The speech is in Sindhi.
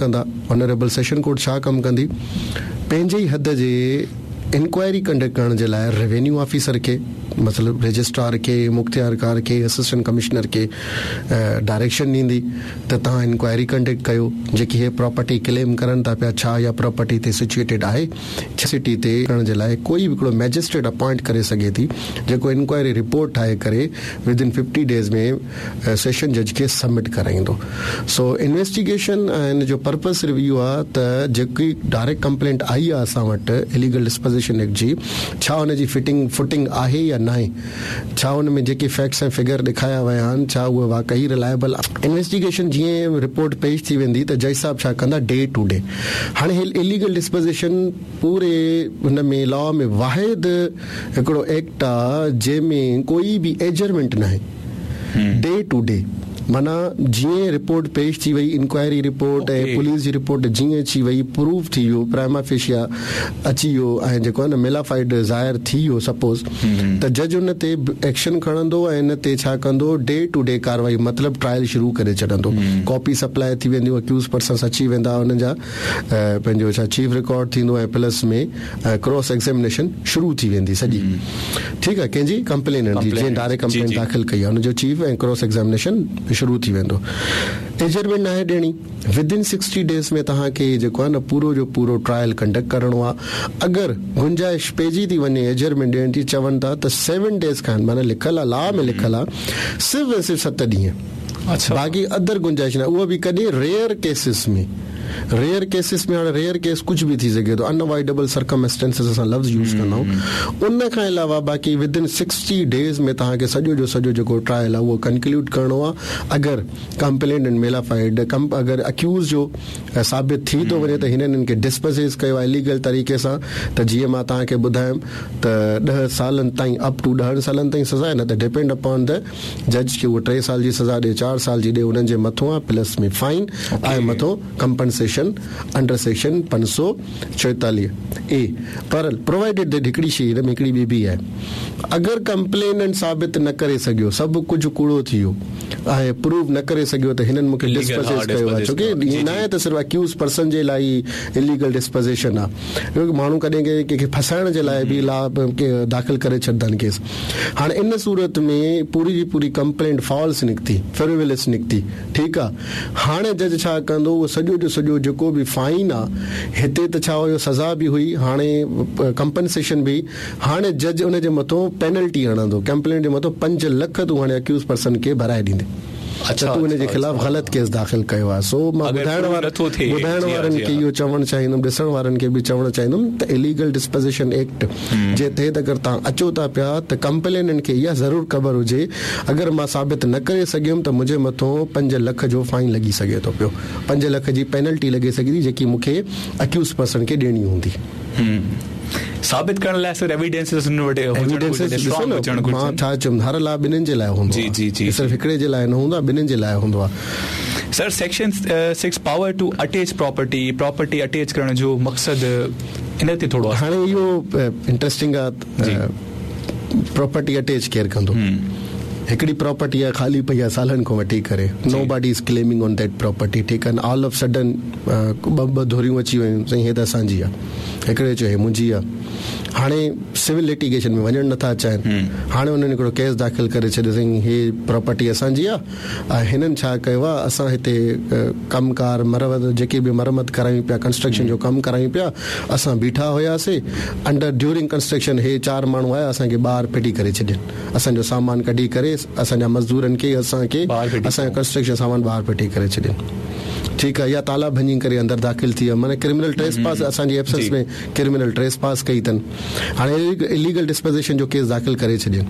ڪندا آنريبل سيشن ڪورٽ ڇا ڪم ڪندي پنهنجي ئي حد جي انڪوائري ڪنڊڪٽ ڪرڻ جي لاء روينيو آفيسر کي مطلب رجسٽرار کي مختيارڪار کي اسسٽنٽ ڪمشنر کي ڊائريڪشن ڏيندي ته توهان انڪوائري ڪنڊڪٽ ڪيو جيڪي هي پراپرٽي ڪليم ڪرن ٿا پيا ڇا اها پراپرٽي هتي سچوئيٽيڊ آهي ڇا سٽي تي ڪرڻ جي لاء ڪوئي به هڪڙو مئجسٽريٽ اپوائنٽ ڪري سگهي ٿي جيڪو انڪوائري رپورٽ ٺاهي ڪري with in fifty days ۾ session جج کي سبمٽ ڪرائيندو. سو انويسٽيگيشن ۽ ان جو پرپس صرف اهو آهي ته جيڪي ڊائريڪٽ ڪمپلينٽ آئي آهي اسان وٽ اليگل ڊسپوزيشن ايڪٽ جي ڇا ان جي فٽنگ فوٽنگ آهي يا ناهي ڇا ان ۾ جيڪي فيڪٽس ۽ فگر ڏيکايا ويا آهن ڇا اهي واقعي رلائبل انويسٽيگيشن جيئن رپورٽ پيش ٿي ويندي ته جج صاحب ڇا ڪندا ڊي ٽو ڊي هاڻي هي اليگل ڊسپوزيشن پوري هن ۾ لا ۾ واحد هڪڙو ايڪٽ آ جنهن ۾ ڪوئي به ايجرمينٽ ناهي ڊي ٽو ڊي معنيٰ جيئن رپورٽ پيش ٿي وئي انڪوائري رپورٽ ۽ پوليس جي رپورٽ جيئن اچي وئي پروف ٿي ويو پرائما فيشيا اچي ويو ۽ جيڪو آهي نه ميلافائيڊ ظاهر ٿي ويو سپوز ته جج ان تي ايڪشن کڻندو ۽ ان تي ڇا ڪندو ڊي ٽو ڊي ڪارروائي مطلب ٽرائل شروع ڪري ڇڏندو ڪاپي سپلاء ٿي وينديون اڪيوز پرسنس اچي ويندا انهن جا پنهنجو ڇا چيف رڪارڊ ٿيندو ۽ پلس ۾ ڪراس ايگزامينيشن شروع ٿي ويندي سڄي ٺيڪ آهي ڪنهن جي ڪمپليننٽ جي جنهن ڊائريڪٽ ڪمپلينٽ داخل ڪئي آهي ان جو چيف ۽ ڪراس ايگزامينيشن شروع ٿي ويندو ايجرمينٽ ناهي ڏيڻي ود ان سڪسٽي ڊيز ۾ توهان کي جيڪو آهي نه پورو جو پورو ٽرائل ڪنڊڪٽ ڪرڻو آهي اگر گنجائش پئجي ٿي وڃي ايجرمينٽ ڏيڻ جي چون ٿا ته سيون ڊيز کان معنيٰ لکيل آهي لا ۾ لکيل آهي صرف ۽ صرف ست ڏينهن باقي ادر گنجائش ناهي اهو به ڪڏهن ريئر ڪيسز ۾ ريئر ڪيسز ۾ هاڻي ريئر ڪيس ڪجهه به ٿي سگهي ٿو ان اوائڊيبل سرڪمسٽنسز اسان لفظ يوز ڪندا آهيون ان کان علاوه باقي ود ان سڪسٽي ڊيز ۾ توهان کي سڄو جو سڄو جيڪو ٽرائل آهي اهو ڪنڪلوڊ ڪرڻو آهي اگر ڪمپليننٽ ميلافائيڊ اگر اڪيوز جو ثابت ٿي ٿو وڃي ته هنن هن کي ڊسپوزيس ڪيو آهي اليگل طريقي سان ته جيئن مان توهان کي ٻڌايم ته ڏهه سالن تائين اپ ٽو ڏهن سالن تائين سزا آهي نه ته ڊپينڊ اپان the جج کي اهو ٽي سال جي سزا ڏي چار سال جي ڏي انهن جي مٿون آ پلس ۾ فائن آهي مٿون ڪمپنسيشن انڊر سيڪشن 544 اي پر پرووائيڊيڊ that هڪڙي شي هن ۾ هڪڙي ٻي به آهي اگر ڪمپليننٽ ثابت نه ڪري سگهيو سڀ ڪجهه ڪوڙو ٿي ويو ۽ پروو نه ڪري سگهيو ته هنن مونکي ڊسپوزيس ڪيو آهي ڇو ڪي ائين ناهي ته صرف اڪيوز پرسن جي لاء ئي اليگل ڊسپوزيشن آهي ماڻهو ڪڏهن ڪنهن کي ڦاسائڻ جي لاء به لا داخل ڪري ڇڏندا آهن ڪيس هاڻي ان صورت ۾ پوري جي پوري ڪمپلينٽ فالس نڪتي، فريولس نڪتي، ٺيڪ آ، هاڻي جج ڇا ڪندو اهو سڄو جو سڄو جيڪو به فائن آ، هتي ته ڇا هيو سزا به هئي هاڻي ڪمپنسيشن به هئي، هاڻي جج ان جي مٿو پينلٽي هڻندو، ڪمپلينٽ جي مٿو 5 لک تون هاڻي اڪيوز پرسن کي ڀرائي ڏيندين. ته تون ان جي خلاف غلط ڪيس داخل ڪيو آهي سو مان ٻڌائڻ ٻڌائڻ وارن کي اهو چوڻ چاهيندم ڏسڻ وارن کي به چوڻ چاهيندم ته اليگل ڊسپوزيشن ايڪٽ جي تحت اگر توهان اچو ٿا پيا ته ڪمپليننٽ کي اها ضرور خبر هجي اگر مان ثابت نه ڪري سگهيم ته منهنجي مٿو 5 لک جو فائن لڳي سگهي ٿو پيو 5 لک جي پينلٽي لڳي سگهي ٿي جيڪي مون کي اڪيوز پرسن کي ڏيڻي هوندي. ثابت ڪرڻ لاء سر ايويڊنسز انهن وٽ هجڻ گهرجن اسٽرانگ هجڻ گهرجن. مان ڇا چيم هر لا ٻنهين جي لاء هوندو آهي جي جي صرف هڪڙي جي لاء نه هوندو آهي ٻنهين جي لاء هوندو آهي. Sir section 6 power to attach property property attach ڪرڻ جو مقصد ان تي ٿورو هاڻي اهو انٽريسٽنگ آهي پراپرٽي اٽيچ ڪير ڪندو هڪڙي پراپرٽي آهي خالي پئي آهي سالن کان وٺي ڪري nobody is claiming on that property ٺيڪ آهي آل آف سڊن ٻه ٻه ڌريون اچي ويون سائين هي ته اسان جي آهي هڪڙي چيو هي منهنجي آ. هاڻي سول لٽيگيشن ۾ وڃڻ نٿا چاهين. هاڻي انهن هڪڙو ڪيس داخل ڪري ڇڏيو سائين هي پراپرٽي اسان جي آ ۽ هنن ڇا ڪيو آ اسان هتي ڪم ڪار مرمت جيڪي به مرمت ڪرايون پيا ڪنسٽرڪشن جو ڪم ڪرايون پيا اسان بيٺا هياسي انڊر ڊيورنگ ڪنسٽرڪشن هي چار ماڻهو آيا اسان کي ٻاهر ڦٽي ڪري ڇڏين اسان جو سامان ڪڍي ڪري اسان جا مزدورن کي اسان کي اسان جو ڪنسٽرڪشن سامان ٻاهر ڦٽي ڪري ڇڏين ٺيڪ آ يا تالا ڀڃي ڪري اندر داخل ٿي ويا معنيٰ ڪرمنل ٽريس پاس اسان جي ايبسنس ۾ ڪرمنل ٽريس پاس ڪئي اٿن هاڻي اليگل ڊسپوزيشن جو ڪيس داخل ڪري ڇڏين.